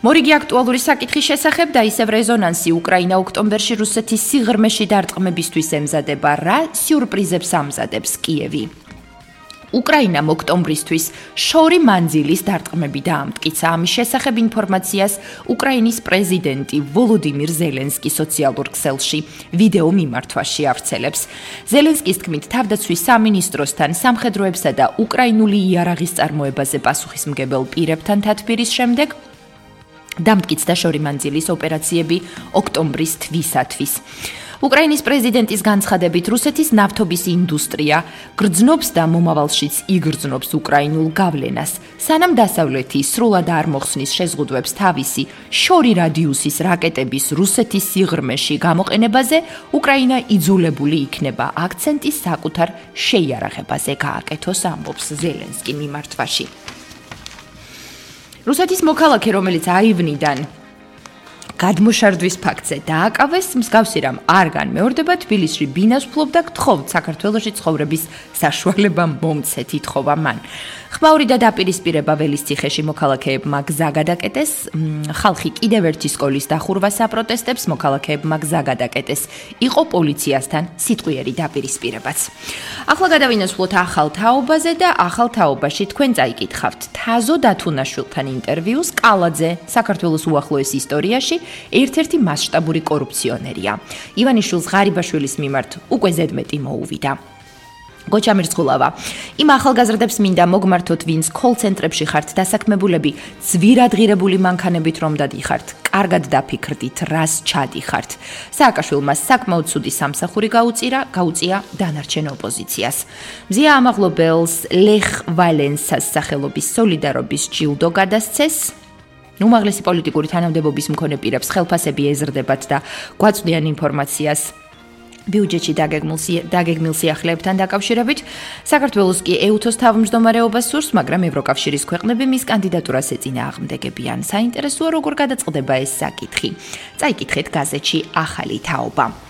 მორიგი აქტუალური საკითხის შესახებ და ისევ რეზონანსი უკრაინა ოქტომბერში რუსეთის სიღრმეში დარტყმებისთვის ემზადება, რა სიურპრიზებს ამზადებს კიევი. უკრაინამ ოქტომბრისთვის შორი მანძილის დარტყმები დაამტკიცა. ამის შესახებ ინფორმაციას უკრაინის პრეზიდენტი ვოლოდიმირ ზელენსკი სოციალურ ქსელში ვიდეო მიმართვაში ავრცელებს. ზელენსკის თქმით, თავდაცვის სამინისტროსთან სამხედროებსა და უკრაინული იარაღის წარმოებაზე პასუხისმგებელ პირებთან თათბირის შემდეგ დამტკიცდა შორი მანძილის ოპერაციები ოქტომბრის თვისათვის. უკრაინის პრეზიდენტის განცხადებით, რუსეთის ნავთობის ინდუსტრია გრძნობს და მომავალშიც იგრძნობს უკრაინულ გავლენას. სანამ დასავლეთი სრულად არ მოხსნის შეზღუდვებს თავისი შორი რადიუსის რაკეტების რუსეთის სიღრმეში გამოყენებაზე, უკრაინა იძულებული იქნება აქცენტის საკუთარ შეიარაღებაზე გააკეთოს, ამბობს ზელენსკი მიმართვაში. რუსეთის მოქალაქე, რომელიც აივნიდან გადმოშარდვის ფაქტზე დააკავეს, მსგავსი რამ არ განმეორდება, თბილისში ბინას ფლობდა, გთხოვთ საქართველოში ცხოვრების საშუალება მომცეთ, ითხოვა მან. ხმაური და დაპირისპირება ველისციხეში მოქალაქეებმა გზა გადაკეტეს, ხალხი კიდევ ერთი სკოლის დახურვას აპროტესტებს, მოქალაქეებმა გზა გადაკეტეს, იყო პოლიციასთან სიტყვიერი დაპირისპირებაც. ახლა გადავინაცვლოთ ახალ თაობაზე და ახალ თაობაში თქვენ წაიკითხავთ თაზო დათუნაშვილთან ინტერვიუს. კალაძე საქართველოს უახლოეს ისტორიაში ერთ-ერთი მასშტაბური კორუფციონერია. ივანიშვილს ღარიბაშვილის მიმართ უკვე ზედმეტი მოუვიდა. გოჩა მირცხულავა, იმ ახალგაზრდებს მინდა მოგმართოთ, ვინც კოლ-ცენტრებში ხართ დასაქმებულები, ძვირადღირებული მანქანებით რომ დადიხართ, კარგად დაფიქრდით, რას ჩადიხართ. სააკაშვილმა საკმაოდ ცუდი სამსახური გაუწია დანარჩენ ოპოზიციას. მზია ამაღლობელს ლეხ ვალენსას სახელობის სოლიდარობის ჯილდო გადასცეს. უმაღლესი პოლიტიკური თანამდებობის მქონე პირებს ხელფასები ეზრდებათ და გვაწვდიან ინფორმაციას ბიუჯეტში დაგეგმილ სიახლეებთან დაკავშირებით. საქართველოს კი ეუთოს თავმჯდომარეობას სურს, მაგრამ ევროკავშირის ქვეყნები მის კანდიდატურას ეწინააღმდეგებიან. საინტერესოა, როგორ გადაწყდება ეს საკითხი. წაიკითხეთ გაზეთში ახალი თაობა.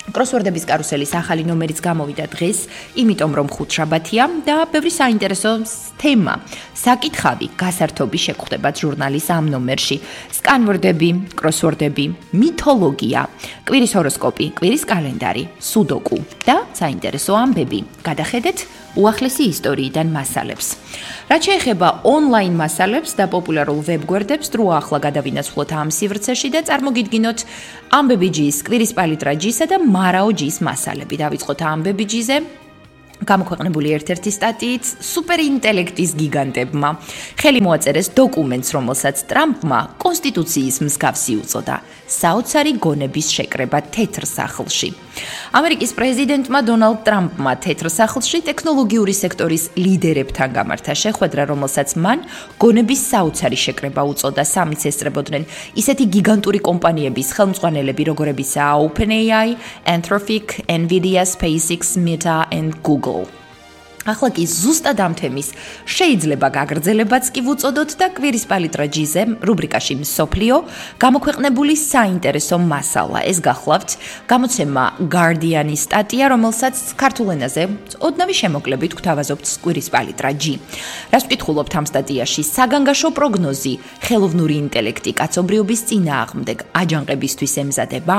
კროსვორდების კარუსელის ახალი ნომერიც გამოვიდა დღეს, იმიტომ რომ ხუთშაბათია და ბევრი საინტერესო თემა, საკითხავი, გასართობი შეგხვდებათ ჟურნალის ამ ნომერში. სკანვორდები, კროსვორდები, მითოლოგია, კვირის ჰოროსკოპი, კვირის კალენდარი, სუდოკუ და საინტერესო ამბები. გადახედეთ უახლესი ისტორიიდან მასალებს. რაც შეეხება ონლაინ მასალებს და პოპულარულ ვებგვერდებს, დრო ახლა გადავინაცვლოთ ამ სივრცეში და წარმოგიდგინოთ ამბები ჯის, კვირის პალიტრა ჯისა და მარაო ჯის მასალები. დავიწყოთ ამბები ჯიზე. გამოქვეყნებული ერთ-ერთი სტატიით სუპერინტელექტის გიგანტებმა ხელი მოაწერეს დოკუმენტს, რომელსაც ტრამპმა კონსტიტუციის მსგავსი უწოდა. საოცარი გონების შეკრება თეთრ სახლში. ამერიკის პრეზიდენტმა დონალდ ტრამპმა თეთრ სახლში ტექნოლოგიური სექტორის ლიდერებთან გამართა შეხვედრა, რომელსაც მან გონების საოცარი შეკრება უწოდა. სამიც ესწრებოდნენ ისეთი გიგანტური კომპანიების ხელმძღვანელები, როგორებიცაა OpenAI, Anthropic, Nvidia, SpaceX, Meta and Google. ახლა კი ზუსტად ამ თემის შეიძლება გაგრძელებაც კი ვუწოდოთ და კვირის პალიტრა ჯიზე რუბრიკაში მსოფლიო გამოქვეყნებული საინტერესო მასალა. ეს გახლავთ გამოცემა Guardian-ის სტატია, რომელსაც ქართულ ენაზე ოდნავი შემოკლებით გვთავაზობთ კვირის პალიტრა ჯი. რას ვკითხულობთ ამ სტატიაში? საგანგაშო პროგნოზი, ხელოვნური ინტელექტი კაცობრიობის წინააღმდეგ აჯანყებისთვის ემზადება?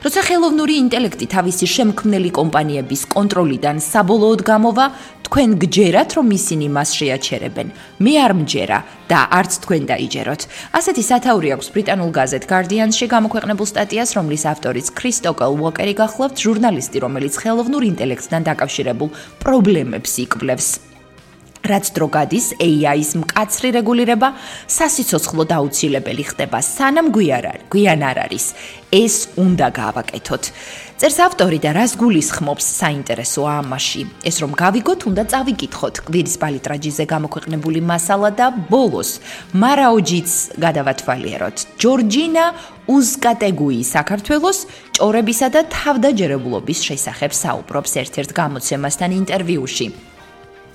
როცა ხელოვნური ინტელექტი თავისი შემქმნელი კომპანიების კონტროლიდან საბოლოოდ გამოვა, თქვენ გჯერათ, რომ ისინი მას შეაჩერებენ. მე არ მჯერა და არც თქვენ დაიჯეროთ. ასეთი სათაური აქვს ბრიტანულ გაზეთ Guardian-ში გამოქვეყნებულ სტატიას, რომლის ავტორიც კრისტოკელ უოკერი გახლავთ, ჟურნალისტი, რომელიც ხელოვნურ ინტელექტთან დაკავშირებულ პრობლემებს იკვლევს. რაც დრო გადის, AI-ის მკაცრი რეგულირება სასიცოცხლოდ აუცილებელი ხდება, სანამ გვიან არ არის. ეს უნდა გავაკეთოთ. წერს ავტორი და რას გულისხმობს საინტერესოა ამაში. ეს რომ გავიგოთ, უნდა წავიკითხოთ კვირის პალიტრა ჯიზე გამოქვეყნებული მასალა და ბოლოს მარაოჯიც გადავათვალიეროთ. ჯორჯინა უზკატეგუი საქართველოს ჭორებისა და თავდაჯერებულობის შესახებ საუბრობს ერთ-ერთ გამოცემასთან ინტერვიუში.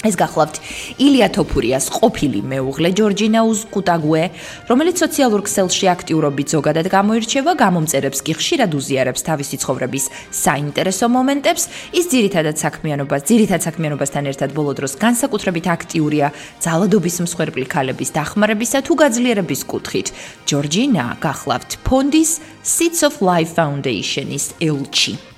ეს გახლავთ ილია თოფურიას ყოფილი მეუღლე ჯორჯინა უზკუტაგვე, რომელიც სოციალურ ქსელში აქტიურობით ზოგადად გამოირჩევა, გამომწერებს კი ხშირად უზიარებს თავისი ცხოვრების საინტერესო მომენტებს. ის ძირითად საქმიანობასთან ერთად ბოლო დროს განსაკუთრებით აქტიურია ძალადობის მსხვერპლი ქალების დახმარებისა თუ გაძლიერების კუთხით. ჯორჯინა გახლავთ ფონდის Seeds of Life Foundation-ის ელჩი.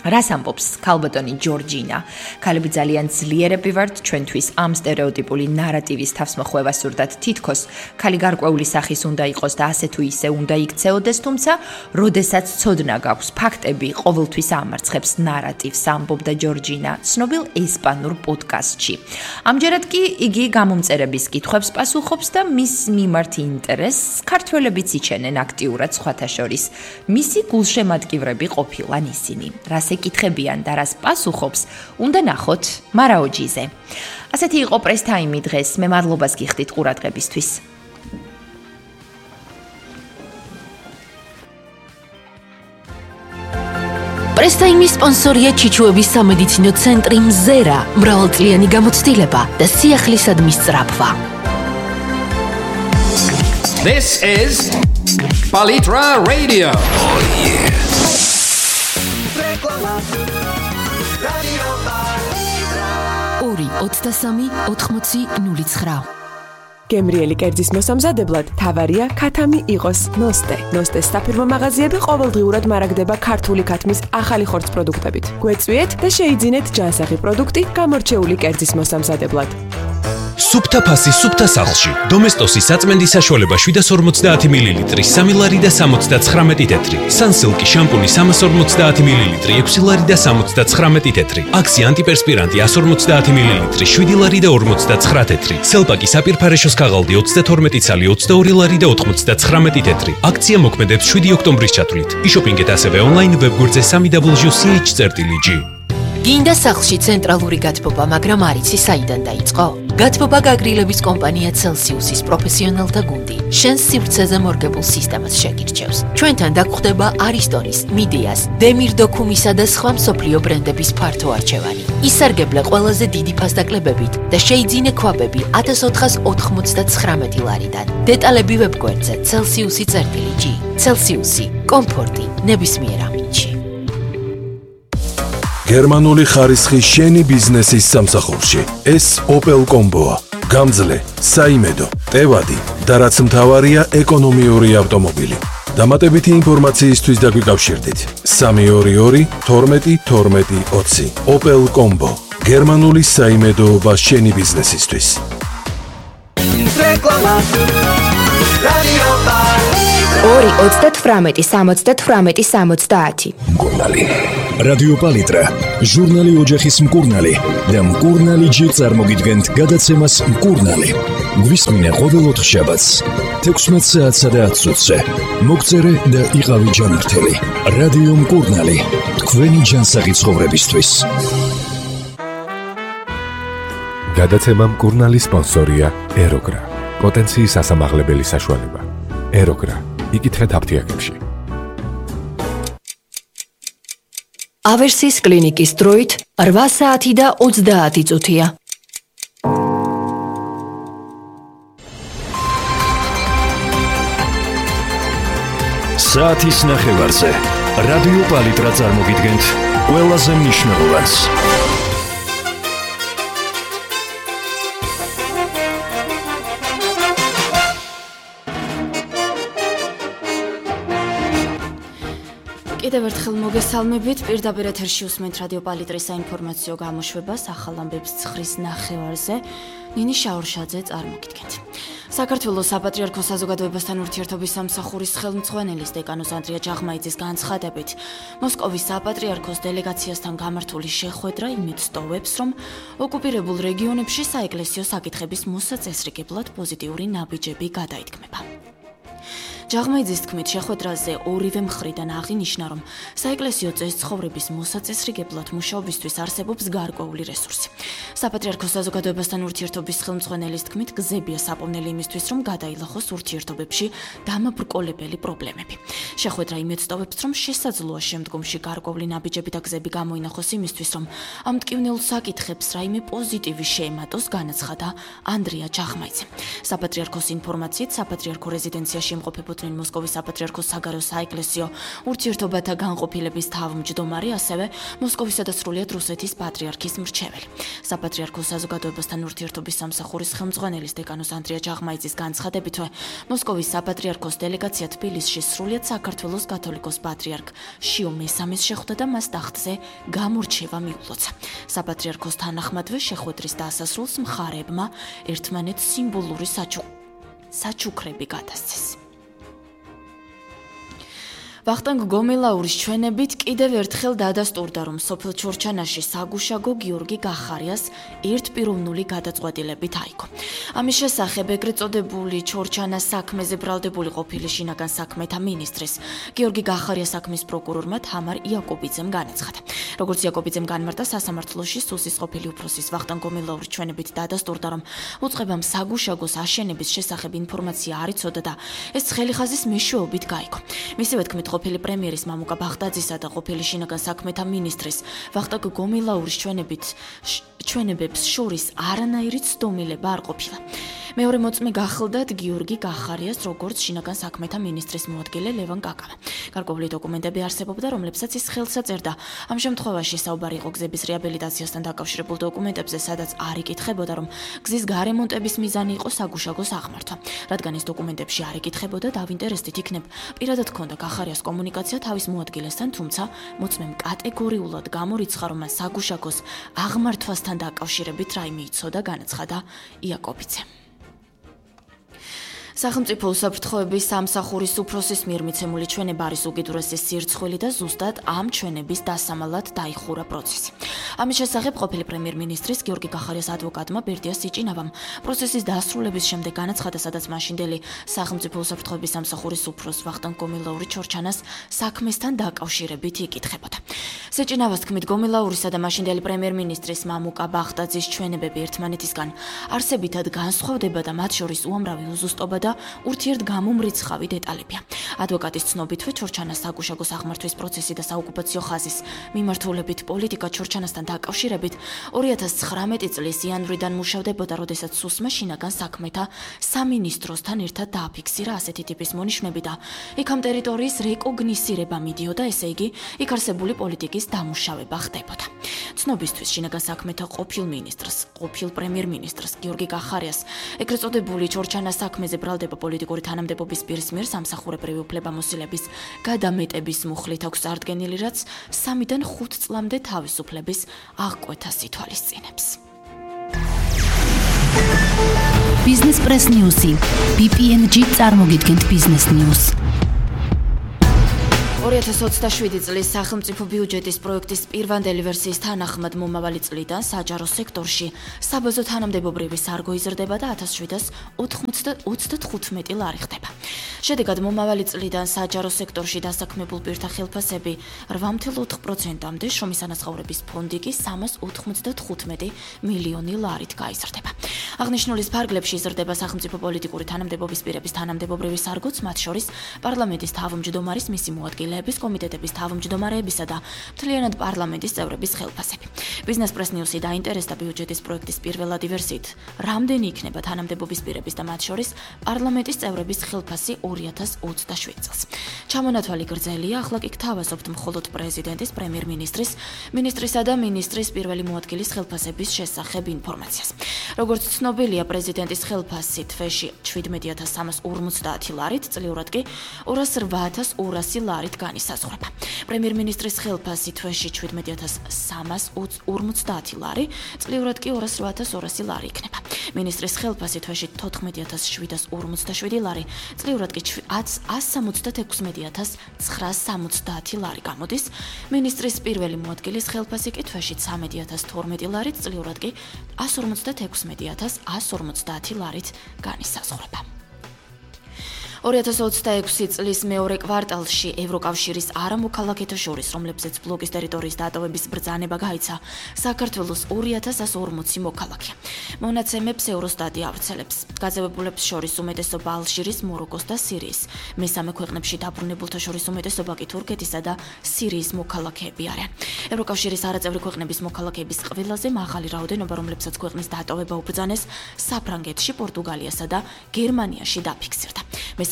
რას ამბობს ქალბატონი ჯორჯინა? ქალები ძალიან ძლიერები ვართ ჩვენთვის ამ სტერეოტიპული ნარატივის თავსმოხვევა სურდათ თითქოს ქალი გარკვეული სახის უნდა იყოს და ასე თუ ისე უნდა იქცეოდეს, თუმცა როდესაც ცოდნა გაქვს ფაქტები ყოველთვის ამარცხებს ნარატივს, ამბობდა ჯორჯინა ცნობილ ესპანურ პოდკასტში. ამჯერად კი იგი გამომწერების კითხვებს პასუხობს და მის მიმართ ინტერესს ქართველებიც იჩენენ აქტიურად სხვათა შორის. მისი გულშემატკივრები ყოფილან ისინი. ეკითხებიან და რას პასუხობს, უნდა ნახოთ მარაოჯიზე. ასეთი იყო პრეს ტაიმი დღეს. მე მადლობას გიხდით ყურადღებისთვის. პრეს ტაიმის სპონსორია ჩიჩუების სამედიცინო ცენტრი მზერა, მრავალწლიანი გამოცდილება და სიახლისადმის სწრაფვა. This is Palitra Radio. Oh yeah. ორი 23 80 09. გემრიელი კერძის მოსამზადებლად თავარია ქათამი იყოს ნოსტე. ნოსტეს საფირმო მაღაზიები ყოველდღიურად მარაგდება ქართული ქათმის ახალი ხორცს პროდუქტებით. გვეწვიეთ და შეიძინეთ ჯანსაღი პროდუქტი გამორჩეული კერძის მოსამზადებლად. სუფთა ფასი სუფთა სახლში. დომესტოსის საწმენდის საშუალება 750 მლ, 3 ლარი და 79 თეთრი. სანსილკი შამპუნი 350 მლ, 6 ლარი და 79 თეთრი. აქსი ანტიპერსპირანტი 150 მლ, 7 ლარი და 59 თეთრი. სელპაკი საპირფარეშოს ქაღალდი 32 ცალი 22 ლარი და 99 თეთრი. აქცია მოქმედებს 7 ოქტომბრის ჩათვლით. იშოპინგეთ ასევე ონლაინ ვებგვერდზე www.ch.ch. გინდა სახლში ცენტრალური გათბობა, მაგრამ არ იცი საიდან დაიწყო? გათბობა გაგრილების კომპანია Celsius-ის პროფესიონალთა გუნდი შენს სივრცეზე მორგებულ სისტემას შეგირჩევს. ჩვენთან დაგხვდება არისტონის, მიდიას, დემირ დოქუმისა და სხვა მსოფლიო ბრენდების ფართო არჩევანი. ისარგებლე ყველაზე დიდი ფასდაკლებებით და შეიძინე ქვაბები 1499 ლარიდან. დეტალები ვებგვერდზე Celsius.ch. Celsius-ი, კომფორტი ნებისმიერ ამინდში. გერმანული ხარისხი შენი ბიზნესის სამსახურში. ეს Opel Combo-ა. გამძლე, საიმედო, ტევადი და რაც მთავარია ეკონომიური ავტომობილი. დამატებითი ინფორმაციისთვის დაგვიკავშირდით 322 12 12 20. Opel Combo. გერმანული საიმედოობა შენი ბიზნესისთვის. რეკლამა. რადიო პალიტრა. 2 28 70 მკურნალი. რადიო პალიტრა, ჟურნალი ოჯახის მკურნალი და მკურნალი ჯი წარმოგიდგენთ გადაცემას მკურნალი. გვისმინე ყოველ ოთხშაბათს 16 საათსა და 10 წუთზე. მოგწერე და იყავი ჯანმრთელი. რადიო მკურნალი, თქვენი ჯანსაღი ცხოვრებისთვის. გადაცემა მკურნალი სპონსორია ეროგრა. პოტენციის ასამაღლებელი საშუალება. ეროგრა. იკითხეთ აფთიაქებში. ავერსის კლინიკის დროით 8 საათი და 30 წუთია. საათის ნახევარზე რადიო პალიტრა წარმოგიდგენთ ყველაზე მნიშვნელოვანს. კიდევ ერთხელ მოგესალმებით, პირდაპირ ეთერში უსმენთ რადიო პალიტრის საინფორმაციო გამოშვებას ახალ ამბებს 9-ის ნახევარზე. ნინი შაურშაძე წარმოგიდგენთ. საქართველოს საპატრიარქო საზოგადოებასთან ურთიერთობის სამსახურის ხელმძღვანელის დეკანოს ანდრია ჯაღმაიძის განცხადებით, მოსკოვის საპატრიარქოს დელეგაციასთან გამართული შეხვედრა იმედს ტოვებს, რომ ოკუპირებულ რეგიონებში საეკლესიო საკითხების მოსაწესრიგებლად პოზიტიური ნაბიჯები გადაითქმება. ჯაღმაიძის თქმით, შეხვედრაზე ორივე მხრიდან აღინიშნა, რომ საეკლესიო წესცხოვრების მოსაწესრიგებლად მუშაობისთვის არსებობს გარკვეული რესურსი. საპატრიარქოს საზოგადოებასთან ურთიერთობის ხელმძღვანელის თქმით, გზებია საპოვნელი იმისთვის, რომ გადაილახოს ურთიერთობებში დამაბრკოლებელი პრობლემები. შეხვედრა იმედს ტოვებს, რომ შესაძლოა შემდგომში გარკვეული ნაბიჯები და გზები გამოინახოს იმისთვის, რომ ამ მტკივნეულ საკითხებს რაიმე პოზიტივი შეემატოს, განაცხადა ანდრია ჯაღმაიძე. საპატრიარქოს ინფორმაციით, საპატრიარქო რეზიდენციაში იმყოფებოდნენ მოსკოვის საპატრიარქოს საგარეო საეკლესიო ურთიერთობათა განყოფილების თავმჯდომარე, ასევე მოსკოვისა და სრულიად რუსეთის პატრიარქის მრჩეველი. საპატრიარქოს საზოგადოებასთან ურთიერთობის სამსახურის ხელმძღვანელის დეკანოს ანდრია ჯაღმაიძის განცხადებით, მოსკოვის საპატრიარქოს დელეგაცია თბილისში სრულიად საქართველოს კათოლიკოს პატრიარქ შიო მესამეს შეხვდა და მას ტახტზე გამორჩევა მიულოცა. საპატრიარქოს თანახმადვე შეხვედრის დასასრულს მხარეებმა ერთმანეთს სიმბოლური საჩუქრები გადასცეს. ვახტანგ გომელაურის ჩვენებით კიდევ ერთხელ დადასტურდა, რომ სოფელ ჩორჩანაში საგუშაგო გიორგი გახარიას ერთპიროვნული გადაწყვეტილებით აიგო. ამის შესახებ ეგრეთ წოდებული ჩორჩანას საქმეზე ბრალდებული ყოფილი შინაგან საქმეთა მინისტრის გიორგი გახარიას საქმის პროკურორმა თამარ იაკობიძემ განაცხადა. როგორც იაკობიძემ განმარტა, სასამართლოში სუსის ყოფილი უფროსის ვახტანგ გომელაურის ჩვენებით დადასტურდა, რომ უწყებამ საგუშაგოს აშენების შესახებ ინფორმაცია არ იცოდა და ეს ცხელიხაზის მეშვეობით გაიგო. მისივე თქმით, ყოფილი პრემიერის მამუკა ბაღდაძისა და ყოფილი შინაგან საქმეთა მინისტრის ვახტანგ გომელაურის ჩვენებებს შორის არანაირი ცდომილება არ ყოფილა. მეორე მოწმე გახლდათ გიორგი გახარიას როგორც შინაგან საქმეთა მინისტრის მოადგილე ლევან კაკავა. გარკვეული დოკუმენტები არსებობდა, რომლებსაც ის ხელს აწერდა. ამ შემთხვევაში საუბარი იყო გზების რეაბილიტაციასთან დაკავშირებულ დოკუმენტებზე, სადაც არ იკითხებოდა, რომ გზის გარემონტების მიზანი იყო საგუშაგოს აღმართვა. რადგან ეს დოკუმენტებში არ იკითხებოდა, დავინტერესდით, იქნებ პირადად ჰქონდა გახარიას კომუნიკაცია თავის მოადგილესთან, თუმცა მოწმემ კატეგორიულად გამორიცხა, რომ მან საგუშაგოს აღმართვასთან დაკავშირებით რაიმე იცოდა, განაცხადა იაკობიძე. სახელმწიფო უსაფრთხოების სამსახურის უფროსის მიერ მიცემული ჩვენება არის უკიდურესი სირცხვილი და ზუსტად ამ ჩვენების დასამალად დაიხურა პროცესი. ამის შესახებ ყოფილი პრემიერ-მინისტრის გიორგი გახარიას ადვოკატმა ბერდია სიჭინავამ პროცესის დასრულების შემდეგ განაცხადა, სადაც მაშინდელი სახელმწიფო უსაფრთხოების სამსახურის უფროს ვახტანგ გომელაური ჩორჩანას საქმესთან დაკავშირებით იკითხებოდა. სიჭინავას თქმით, გომელაურისა და მაშინდელი პრემიერ-მინისტრის მამუკა ბაღდაძის ჩვენებები ერთმანეთისგან არსებითად განსხვავდება და მათ შორის უამრავი უზუსტობა და ურთიერთგამომრიცხავი დეტალებია. ადვოკატის ცნობითვე, ჩორჩანას საგუშაგოს აღმართვის პროცესი და საოკუპაციო ხაზის მიმართულებით პოლიტიკა ჩორჩანასთან დაკავშირებით 2019 წლის იანვრიდან მუშავდებოდა, როდესაც სუსმა შინაგან საქმეთა სამინისტროსთან ერთად დააფიქსირა ასეთი ტიპის მონიშნები და იქ ამ ტერიტორიის რეკოგნისირება მიდიოდა, ესე იგი, იქ არსებული პოლიტიკის დამუშავება ხდებოდა. ცნობისთვის შინაგან საქმეთა ყოფილ მინისტრს, ყოფილ პრემიერ-მინისტრს გიორგი გახარიას ეგრეთ წოდებული ჩორჩანას საქმეზე ბრალდება პოლიტიკური თანამდებობის პირის მიერ სამსახურებრივი უფლებამოსილების გადამეტების მუხლით აქვს წარდგენილი, რაც 3-დან 5 წლამდე თავისუფლების აღკვეთას ითვალისწინებს. Business Press News-ი BPNG წარმოგიდგენთ Business News. 2027 წლის სახელმწიფო ბიუჯეტის პროექტის პირვანდელი ვერსიის თანახმად მომავალი წლიდან საჯარო სექტორში საბაზო თანამდებობრივი სარგო იზრდება და 1795 ლარი ხდება. შედეგად მომავალი წლიდან საჯარო სექტორში დასაქმებულ პირთა ხელფასები 8.4%-მდე, შრომის ანაზღაურების ფონდი კი 395 მილიონი ლარით გაიზრდება. აღნიშნულის ფარგლებში იზრდება სახელმწიფო პოლიტიკური თანამდებობის პირების თანამდებობრივი სარგოც, მათ შორის პარლამენტის თავმჯდომარის, მისი მოადგილეების, კომიტეტების თავმჯდომარეებისა და მთლიანად პარლამენტის წევრების ხელფასები. Business Press News-ი დაინტერესდა ბიუჯეტის პროექტის პირველადი ვერსიით, რამდენი იქნება თანამდებობის პირების და მათ შორის პარლამენტის წევრების ხელფასი 2027 წელს. ჩამონათვალი გრძელია, ახლა კი გთავაზობთ მხოლოდ პრეზიდენტის, პრემიერ-მინისტრის, მინისტრისა და მინისტრის პირველი მოადგილის ხელფასების შესახებ ინფორმაციას. როგორც ცნობილია, პრეზიდენტის ხელფასი თვეში 17.350 ლარით, წლიურად კი 208.200 ლარით განისაზღვრება. პრემიერ-მინისტრის ხელფასი თვეში 17.350 ლარი, წლიურად კი 208.200 ლარი იქნება. მინისტრის ხელფასი თვეში 14.757 ლარი, წლიურად კი 166.970 ლარი გამოდის. მინისტრის პირველი მოადგილის ხელფასი კი თვეში 13.012 ლარი, წლიურად კი 156.150 ლარით განისაზღვრება. 2026 წლის მეორე კვარტალში ევროკავშირის არამოქალაქეთა შორის, რომლებზეც ბლოკის ტერიტორიის დატოვების ბრძანება გაიცა, საქართველოს 2140 მოქალაქე. მონაცემებს ევროსტატი ავრცელებს. გაძევებულებს შორის უმეტესობა ალჟირის, მოროკოს და სირიის. მესამე ქვეყნებში დაბრუნებულთა შორის უმეტესობა კი თურქეთისა და სირიის მოქალაქეები არიან. ევროკავშირის არაწევრი ქვეყნების მოქალაქეების ყველაზე მაღალი რაოდენობა, რომლებსაც ქვეყნის დატოვება უბრძანეს, საფრანგეთში, პორტუგალიასა და გერმანიაში დაფიქსირდა.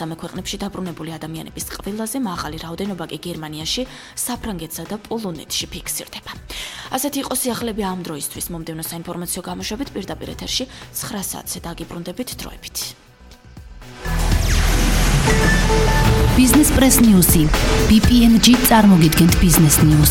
მესამე ქვეყნებში დაბრუნებული ადამიანების ყველაზე მაღალი რაოდენობა კი გერმანიაში, საფრანგეთსა და პოლონეთში ფიქსირდება. ასეთი იყო სიახლეები ამ დროისთვის. მომდევნო საინფორმაციო გამოშვებით პირდაპირ ეთერში 9 საათზე დაგიბრუნდებით დროებით. Business Press News-ი BPNG წარმოგიდგენთ Business News.